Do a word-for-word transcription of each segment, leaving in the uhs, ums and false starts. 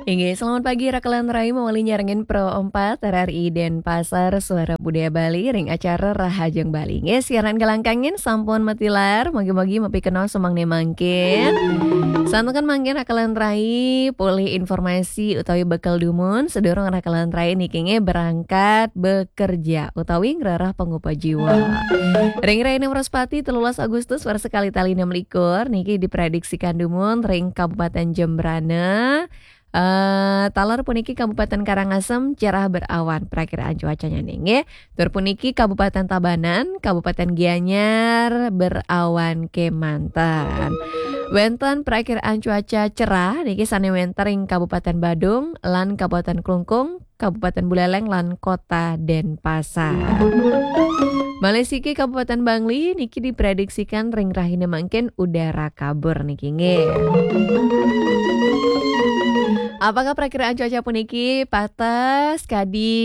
Inggih, selamat pagi, Raka lan Rai, mawali nyarengin Pro empat R R I Denpasar, Suara Budaya Bali, ring acara Rahajeng Bali. Inggih, siaran galangkangin sampun matilar, mugi-mugi mapikenoh sumangdané mangkin. Santukan mangkin Raka lan Rai polih informasi utawi bekel dumun, sadurung Raka lan Rai niki nggih berangkat bekerja utawi ngrereh pangupa jiwa. Ring rahina Wraspati, telulas Agustus, warsa kalih tali enam likur, niki diprediksikan dumun ring Kabupaten Jembrana. Eh, taler puniki Kabupaten Karangasem cerah berawan, prakiraan cuacanya nggih. Tur puniki Kabupaten Tabanan, Kabupaten Gianyar berawan kemanten. Wénten prakiraan cuaca cerah niki sané wénten ring Kabupaten Badung lan Kabupaten Klungkung, Kabupaten Buleleng lan Kota Denpasar. Malih siki Kabupaten Bangli niki diprediksikan ring rahina mangkin udara kabur niki nggih. Apakah prakiraan cuaca puniki pateh kadi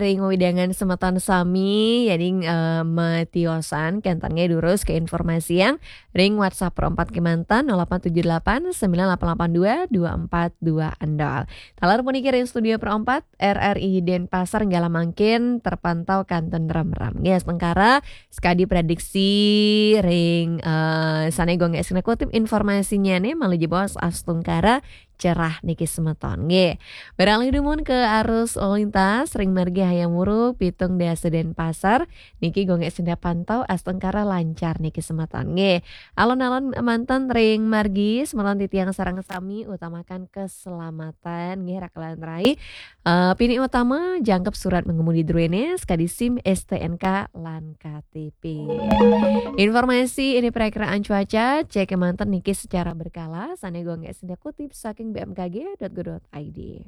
ring wewidangan semeton sami, yadin, eh, matiosan, kénten nggih durus kainformasian ring WhatsApp Pro empat kemanten, nol delapan tujuh delapan sembilan delapan delapan dua dua empat dua nol. Taler puniki ring studio Pro empat, R R I Denpasar, nggala mangkin terpantau kantun remrem. Nggih, astungkara, sakadi prediksi ring, eh, sané Gung Esna kutip informasinyané, malih jebos astungkara cerah niki semeton. Nggih. Beralih dumun ke arus lalu lintas ring margi Hayam Wuruk, Pitung Dasa Denpasar, niki Gung Esna pantau astungkara lancar niki semeton. Nggih. Alon-alon manten ring margi, semeton titiang sareng sami utamakan keselamatan, nggih, Raka lan Rai. Eh, pinih utama, jangkep surat mengemudi druéné, sakadi SIM, S T N K, lan K T P. Informasi inggih prakiraan cuaca, cek manten niki secara berkala, sané Gung Esna kutip saking B M K G dot go dot I D.